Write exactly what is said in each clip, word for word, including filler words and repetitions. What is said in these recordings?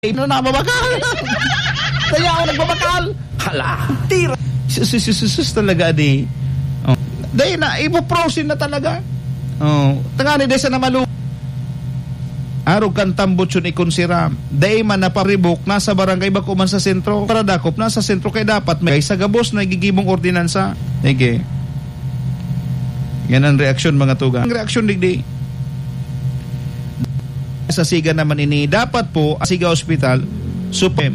Ito na, mabakal. Kaya ako nagbabakal. Hala, tira. Sus, sus, sus, sus, sus, talaga, di. Oh. Dahil na, ibuprosin na talaga. Oh. Tangani, dahil sa namalu-, arog kan tambot yun, ikon siram. Dahil man naparibok, nasa barangay, bako man sa sentro. Para dakop, nasa sentro, kaya dapat may sa gabos na igigibong ordinansa. Sige. Yan ang reaksyon, mga tugang. Ang reaksyon, digdi. Sa Siga naman ini, dapat po, ang Siga Hospital, supem.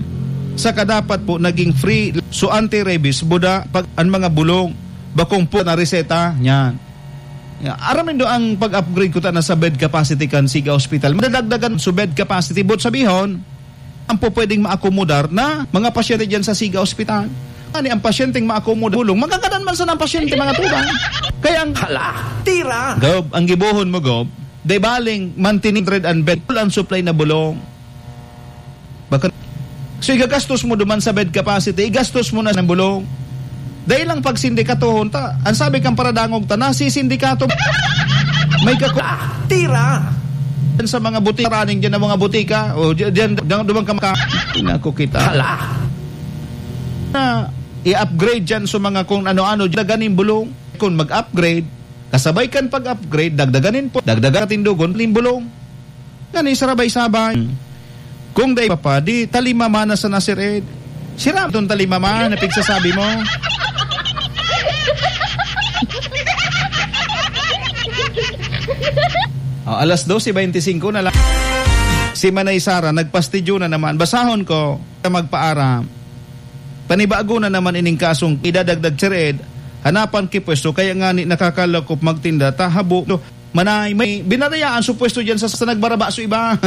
Saka dapat po, naging free, so anti-rabies, buda, pag, ang mga bulong, bakong po na reseta, yan. Ya, aram nindo ang pag-upgrade ko ta na sa bed capacity kan Siga Hospital. Madadagdagan so bed capacity, but sabihon, ang po pwedeng maakomodar na mga pasyente dyan sa Siga Hospital. Ani ang pasyenteng maakomodar, bulong, magkakadan man sana ang pasyente, mga tugang. Kaya ang Hala, tira! Gob, ang gibohon mo, Gob, Di baling, mantinig red and bed, full ang supply na bulong. Baka, so, igagastos mo duman sa bed capacity, igastos mo na ng bulong. Dahil lang pagsindikatohon ta, ang sabi kang paradangog ta, nasisindikato. May kaku-, Ah, tira! Sa mga butika, raning dyan ang mga butika, o dyan, dyan, dyan, duman ka maka-, Naku kita. Hala! Na, i-upgrade dyan sa mga kung ano-ano, dyan ganing bulong. Kung mag-upgrade, kasabay kan pag-upgrade, dagdagan nin po, dagdagan natin dugon, limbulong. Ngani, sarabay-sabay. Kung dai pa pa, di talimama na sa Nasir Ed. Sira itong talimama na pigsasabi mo. Oh, alas doce veinticinco na lang. Si Manay Sara, nagpastidyo na naman. Basahon ko, magpaaram. Panibago na naman ining kasong idadagdag si Red, hanapan ki pwesto, kaya ngani nakakalakop magtinda, ta habo, no, manay, may binarayaan su pwesto diyan sa, sa nagbaraba su iba.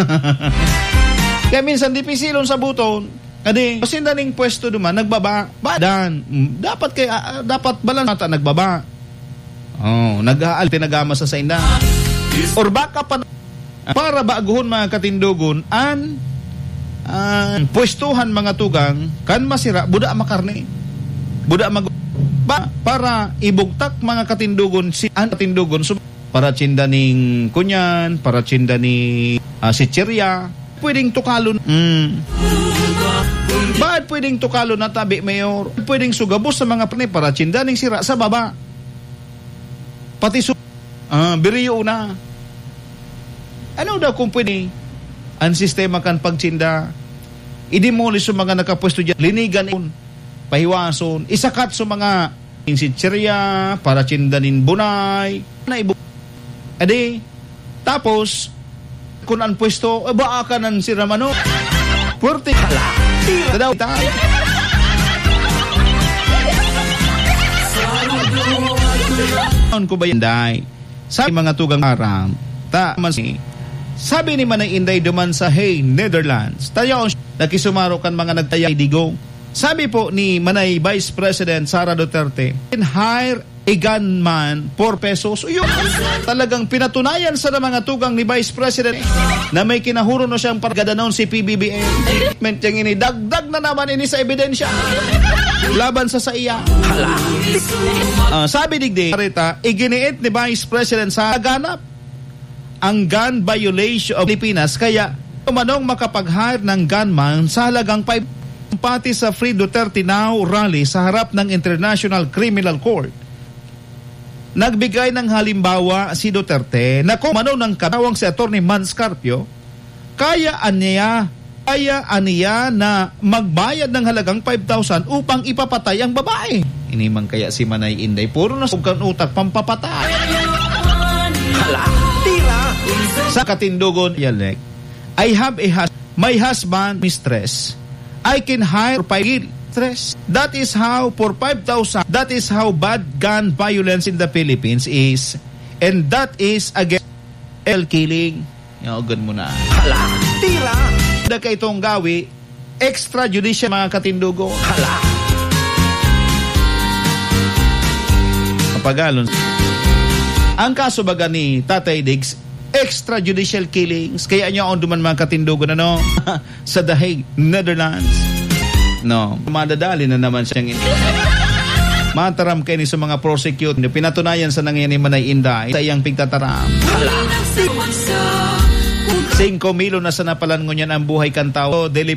Kaya minsan, dipisilon sabuton, adi, pasinda ning pwesto duman, nagbaba, badan, mm, dapat kay, ah, ah, dapat balan ata nagbaba. Oh, nag-aal, pinagama sa sainda. Or baka pa, para baguhon, mga katindogon, an, an pwestuhan, mga tugang, kan masira, buda makarne. Buda mag-, ba, para ibugtak, mga katindogon, si, an katindogon, so, para tsinda ning kunyan, para tsinda ni, ah, sitserya, pwedeng tukalon. Mm. Baad pwedeng tukalon na tabi, Mayor? Pwedeng sugabos sa mga karne para tsinda ning sira sa baba. Pati su-, ah, biriyo na. Ano daw kung pwede ang sistema kan pagtsinda? I-demolish sa mga nakapwesto diyan, linigan, pahiwason, isakat sa mga sitserya, para tsinda nin bunay, na ibu-, adi, tapos, kun an pwesto, eh, baa ka nan sira mano? Puwerte. Hala, tira. Tadaw, ta-, Taon ko ba yan, day? Sabi mga tugang aram, ta man si, sabi ni Manay Inday duman sa Hague, Netherlands, tayaon siya, nakisumaro kan mga nagtayay digong. Sabi po ni Manay Vice President Sara Duterte, "Can hire a gunman for pesos." Uyo, talagang pinatunayan sa mga tugang ni Vice President na may kinahuro na siyang pagdadanon si P B B M. Treatment yang ini, dagdag na naman ini sa ebidensya laban sa saiya. Hala. Ah, sabi digdi, Rita, iginiit ni Vice President sa ganap ang gun violation of Pilipinas, kaya umanong makapag-hire ng gunman sa halagang five pati sa Free Duterte Now rally sa harap ng International Criminal Court. Nagbigay ng halimbawa si Duterte na kung umano ng katawang si Attorney Mans Carpio, kaya aniya Kaya aniya na magbayad ng halagang five thousand upang ipapatay ang babae. Ini man kaya si Manay Inday, puro na sugkan utak, pampapatay. Hala, tira! Sa katindogon, Yalek, I have a hus-, my husband, mistress. I can hire for five stress. That is how, for five thousand, that is how bad gun violence in the Philippines is. And that is against L killing. Yaogan mo na. Hala, tira! Da ka itong gawi, extrajudicial, mga katindogo. Hala! Kapagalon. Ang kaso baga ni Tatay Diggs, extrajudicial killings. Kaya niya on duman, mga katindogo, ano? Sa The Hague, Netherlands. No, madadali na naman siyang in-, mataram kayo ni sa mga prosecute. Pinatunayan sa nangyari ni Manay Inday sa iyang pigtataram. Hala! Singko mil na sana palan ngunyan ang buhay kan tawo. Dili